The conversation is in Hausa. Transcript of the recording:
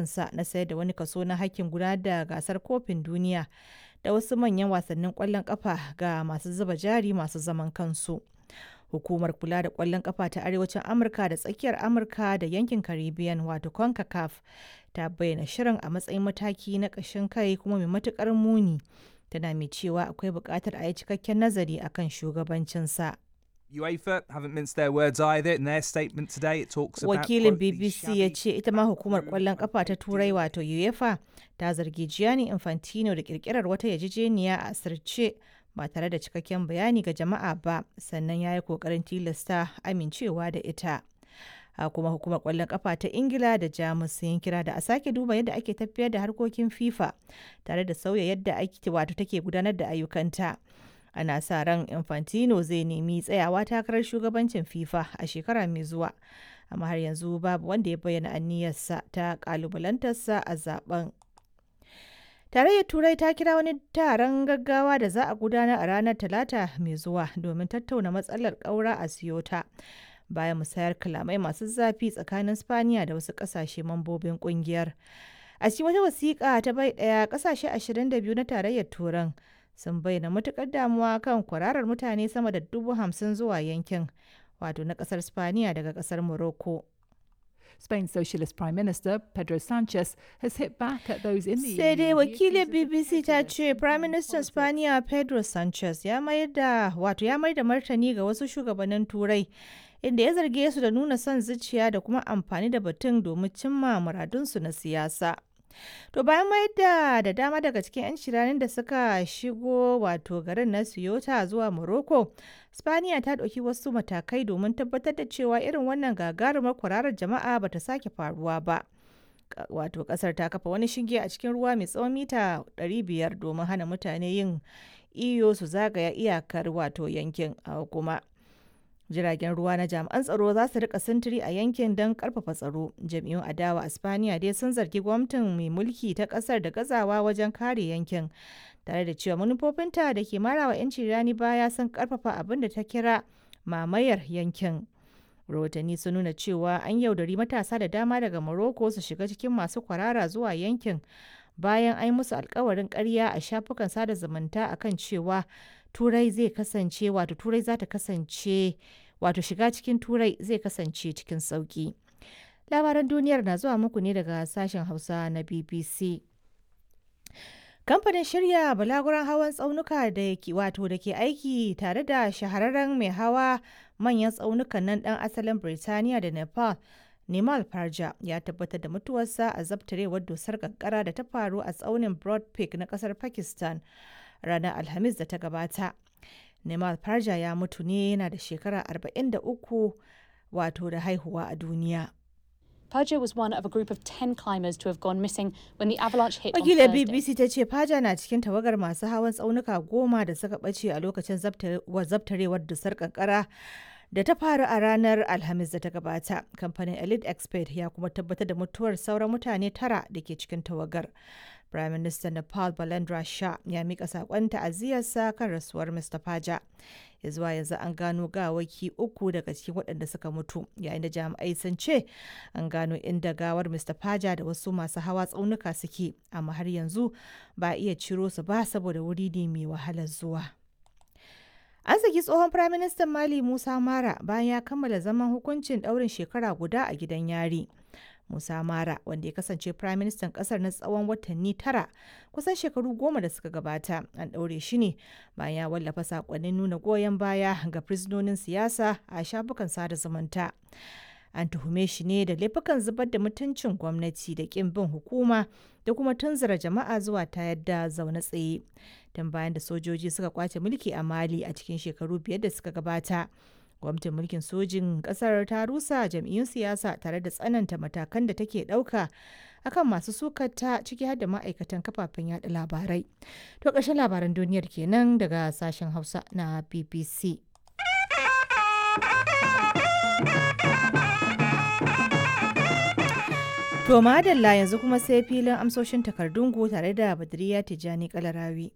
shirinsa na sayar da wani kaso na hakkin gudanar da gasar kofin duniya da wasu manyan wasannin kwallon kafa ga masu zuba jari masu zaman kansu. Hukumar kula da kwallon kafa ta Arewacin Amurka da Tsakiyar Amurka da yankin Caribbean wato CONCACAF ta bayyana shirin a matsayin mataki na ƙashin kai kuma mai matuƙar muni. Tana mai cewa akwai buƙatar a yi cikakken nazari akan shugabancinsa. UEFA haven't minced their words either. In their statement today, it talks about Wakilin quote, the BBC ya shabby ce ita ma hukumar kwallon kafa ta Turai wato UEFA ta zargi Gianni Infantino da kirkirar wata yarjejeniya a asirce ba tare da cikakken bayani ga jama'a ba, sannan ya yi kokarin tilasta amincewa da ita. A kuma hukumar kwallon kafa ta Ingila da Jamus sun yi kira da a sake duba yadda ake tafiyar da harkokin FIFA tare da sauya yadda ake wato take gudanar da ayyukanta. Ana sa ran Infantino zai nemi tsayawa takarar shugabancin FIFA a shekara mai zuwa, amma har yanzu babu wanda ya bayyana aniyarsa ta kalubalantarsa a zaben. Tarayyar Turai ta kira wani taron gaggawa da za a gudanar a ranar Talata mai zuwa domin tattauna matsalar ƙaura a Ceuta bayan musayar kalamai masu zafi tsakanin Spaniya da wasu ƙasashe mambobin ƙungiyar. A cikin wata wasiƙa ta bai ɗaya, ƙasashe 22 na Tarayyar Turan sun bayyana matuƙar damuwa kan kwararar mutane sama da 50,000 zuwa yankin, wato na ƙasar Spaniya daga ƙasar Morocco. Spain's Socialist Prime Minister Pedro Sanchez has hit back at those in the Sai EU dai he wakilin accuses of BBC ta prejudice ce and Prime playing Minister politics. Spaniya Pedro Sanchez ya mayar da wato ya mayar da martani ga wasu shugabannin Turai inda ya zarge su da nuna son zuciya da kuma amfani da batun domin cimma muradunsu na siyasa. To bayan mayar da dama daga cikin 'yan shiranin da suka shigo wato garin na Ceuta zuwa Morocco, Spaniya ta ɗauki wasu matakai domin tabbatar da cewa irin wannan gagarumar kwararar jama'a bata sake faruwa ba. Wato kasar ta kafa wani shinge a cikin ruwa mai tsawon mita 500 domin hana mutane yin iyo su zagaya iyakar wato yankin. A kuma jiragen ruwa na jami'an tsaro za su rika sintiri a yankin don karfafa tsaro. Jam'iyyun adawa a Spaniya dai sun zargi gwamnatin mai mulki ta kasar da gazawa wajen kare yankin, tare da cewa manufofinta da ke marawa 'yanci rani baya sun karfafa abin da ta kira mamayar yankin. Rahotanni sun nuna cewa an yaudari matasa da dama daga Morocco su shiga cikin masu kwarara zuwa yankin bayan an yi musu alkawarin karya a shafukan sada zumunta akan cewa Turai zai kasance wato Turai za ta kasance wato shiga cikin Turai zai kasance cikin sauki. Labaran duniyar na zuwa muku ne daga sashen Hausa na BBC. Kamfanin shirya balaguran hawan tsaunuka da ke wato da ke aiki tare da shahararren mai hawa manyan tsaunukan nan dan asalin Birtaniya da Nepal, Nimal Parja, ya tabbatar da mutuwarsa a zabtarewar dusar kankara da ta faru a tsaunin Broad Peak na kasar Pakistan ranar Alhamis da ta gabata. Nimal Parja ya mutu ne yana da shekara 43 wato da haihuwa a duniya. Perja was one of a group of 10 climbers to have gone missing when the avalanche hit on Wakilar Thursday. BBC ta ce Faja na cikin tawagar masu hawan tsaunuka 10 da suka ɓace a lokacin zabtarewar dusar kankara da ta faru a ranar Alhamis da ta gabata. Kamfanin Elite Expert ya kuma tabbatar da mutuwar sauran mutane tara da ke cikin tawagar. Prime Minister Nepal Balendra Shah ya mika sakon ta'aziyarsa kan rasuwar Mr. Faja. Ya zuwa yanzu an gano gawaki uku daga cikin waɗanda suka mutu, yayin da jami'ai sun ce an gano inda gawar Mr. Faja da wasu masu hawa tsaunuka suke, amma har yanzu ba a iya ciro su ba saboda wuri ne mai wahalar zuwa. An saki tsohon Firaministan Mali Musa Mara bayan ya kammala zaman hukuncin ɗaurin shekara guda a gidan yari. Musa Mara, wanda ya kasance Firaministan ƙasar na tsawon watanni 9 kusan shekaru 10 da suka gabata, an ɗaure shi ne bayan ya wallafa saƙonnin nuna goyon baya ga fursunonin siyasa a shafukan sada zumunta. An tuhume shi ne da laifukan zubar da mutuncin gwamnati da ƙin bin hukuma da kuma tunzura jama'a zuwa tayar da zaune tsaye. Tun bayan da sojoji suka kwace mulki a Mali a cikin shekaru 5 da suka gabata, gwamnatin mulkin sojin kasar ta rusa jam'iyyun siyasa tare da tsananta matakan da take ɗauka akan masu sukata, ciki har da ma'aikatan kafafen yada labarai. To ƙarshen labaran duniyar kenan daga sashen Hausa na BBC. To madalla, yanzu kuma sai filin amsoshin takardun ku tare da Badriya Tijjani Kalarawi.